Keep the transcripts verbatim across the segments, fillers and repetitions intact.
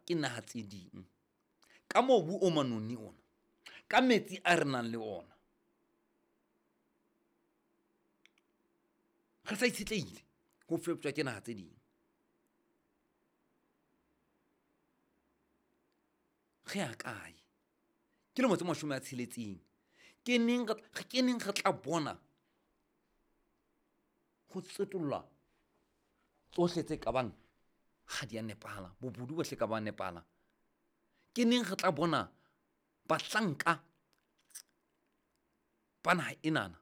ke naha tse ding. Ka mobu o manoni ona, ka metsi a re nang le ona, re sa itshetlehile ho feptjwa ke naha tse ding. Re ya kae? Ke lemo tse mashome a tsheletseng. Ke neng re, ke neng re tla bona ho tsetollwa tsohle tse kabang ha di a nepahala, bobodu bohle ka ba nepahala? Ke neng re tla bona bahlanka ba naha enana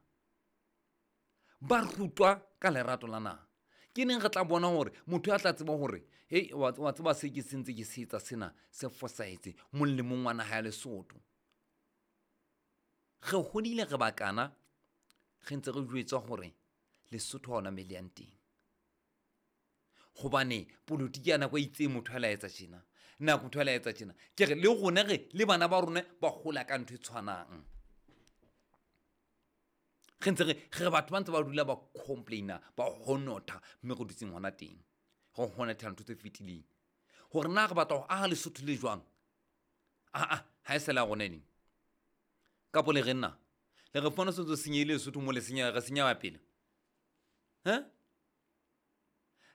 ba rutwa ka lerato la naha? Ke neng re tla bona hore motho a tla tseba hore hei, wa, wa tseba se ke sentse ke se etsa sena se fosahetse molemong wa naha ya Lesotho. Re hodile re bakana, re ntse re jwetswa hore Lesotho ha hona moo le yang teng. Hobane polotiki ya nako e itseng motho a la etsa tjena, nako motho a la etsa tjena. Ke re le rona re le bana ba rona ba hola ka ntho e tshwanang. Re ntse re, re batho ba ntse ba dula ba complaina, ba honotha mme re dutseng hona teng. Re honotha ntho tse fetileng. Hore na re batla ho aha Lesotho le jwang? Ah, ah, ha e sa le ya rona eng? Kapo le re nna? Le re fumana se ntse senyehile Lesotho mo le senya, re senya pele. He?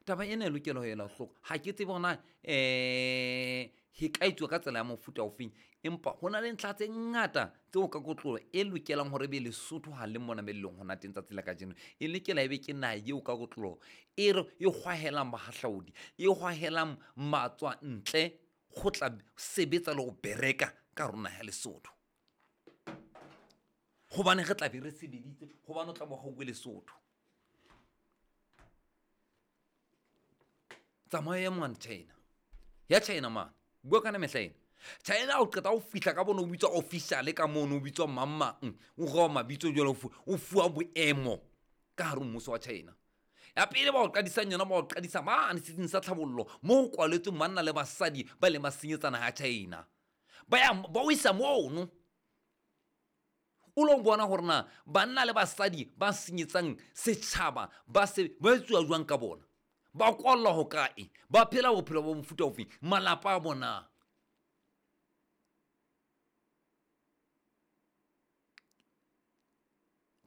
Taba ena e lokela ho ela hloko. Ha ke tsebe hore na, eh, e ka etsuwa ka tsela ya mofuta ofeng, empa ho na le ntlha tse ngata tseo ka kotloloho e lokelang hore ebe Lesotho ha le mona moo le leng hona teng tsatsi la kajeno. E lokela ebe ke naha eo ka kotloloho e re e hwahelang bahahlaodi, e hwahelang matswantle ho tla sebetsa le ho bereka ka hare ho naha ya Lesotho. Hobane re tla be re sebeditse, hobane o tla bo hauwe Lesotho. Tsamaya ya mane China. Ya China mane. Bua ka mehla ena. China o qeta ho fihla ka bona o bitswa official ka mono, o bitswa mang mang. O roa mabitso jwalo, o fu-, o fuwa boemo ka hare ho mmuso wa China. Ya pele ba o qadisang yona, ba o qadisa mane setsing sa tlhabollo, moo ho kwaletsweng banna le basadi ba ileng ba senyetsa naha ya China. Ba ya, ba o isa mono. O lo bona hore na banna le basadi ba senyetsang setjhaba ba se, ba etsuwa jwang ka bona. Ba kwallwa ho kae? Ba phela bophelo bo mofuta ofe? Malapa a bona.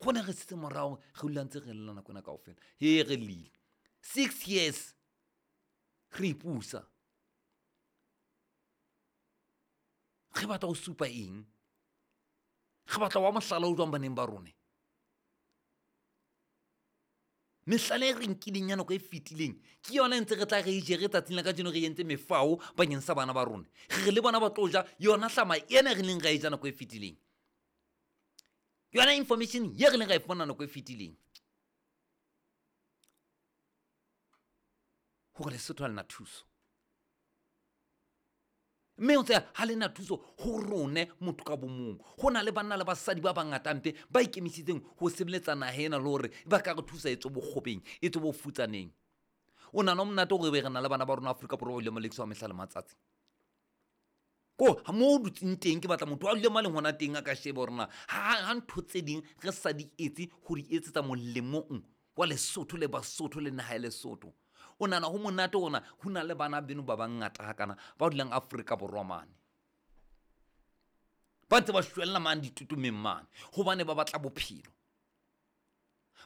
Rona re setse morao, re dula ntse re lla nako ena kaofela. He, re llile. Six years re ipusa. Re batla ho supa eng? Re batla wa mohlala o jwang baneng ba rona? Mehlala e re nkileng ya nako e fetileng ke yona e ntse re tla re e jere tsatsing la kajeno, re entse mefao bakeng sa bana ba rona. Re re le bona ba tlo ja yona hlama ena re neng ra e ja nako e fetileng, yona information ye re neng ra e fumana nako e fetileng, hore Lesotho ha le na thuso. Mme o tseba ha le na thuso ho rone motho ka bo mong. Ho na le banna le basadi ba bangata mpe ba ikemiseditseng ho sebeletsa naha ena le hore ba ka re thusa e tswe bokgobeng, e tswe bofutsaneng. O nahana ho monate hore ebe re na le bana ba rona Afrika Borwa ba ileng ba lekiswa mehla le matsatsi. Ko ha mo o dutseng teng ke batla motho a dule mo a leng hona teng a ka sheba hore na ha, ha ntho tse ding re sa di etse ho di etsetsa molemong wa Lesotho le Basotho le naha ya Lesotho. O nahana ho monate hore na ho na le bana beno ba bangata hakana ba dulang Afrika Borwa mane. Ba ntse ba shwella mane ditutumeng mane hobane ba batla bophelo.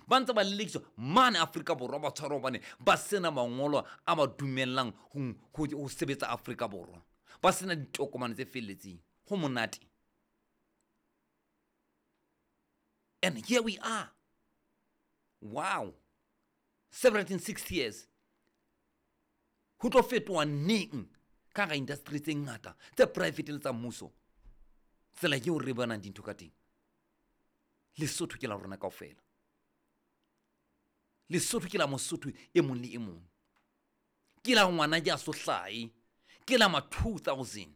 Ba ntse ba lelekiswa mane Afrika Borwa, ba tshwarwa hobane ba sena mangolo a ba dumellang ho, ho, ho sebetsa Afrika Borwa. Ba sena ditokomane tse felletseng. Ho monate. And here we are. Wow. seven hundred and sixty years. Ho tlo fetoha neng ka hara industry tse ngata tse private le tsa mmuso? Tsela eo re bonang dintho ka teng. Lesotho ke la rona kaofela. Lesotho ke la Mosotho e mong le e mong. Ke la ngwana ya so hlahe. Ke la ma two thousand.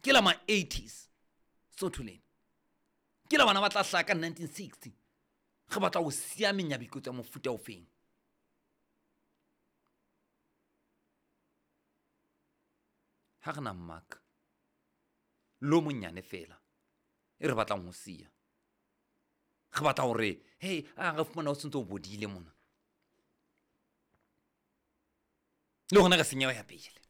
Ke la ma eighties. Sotho lena. Ke la bana ba tla hlaha ka nineteen sixty. Re batla ho siya menyabuketso ya mofuta ofeng? Ha re na mmaraka lo monyane fela e re batlang ho siya. Re batla hore, hey, a re fumana o sentse o bodile mona. Le hona re senyeha ya pele.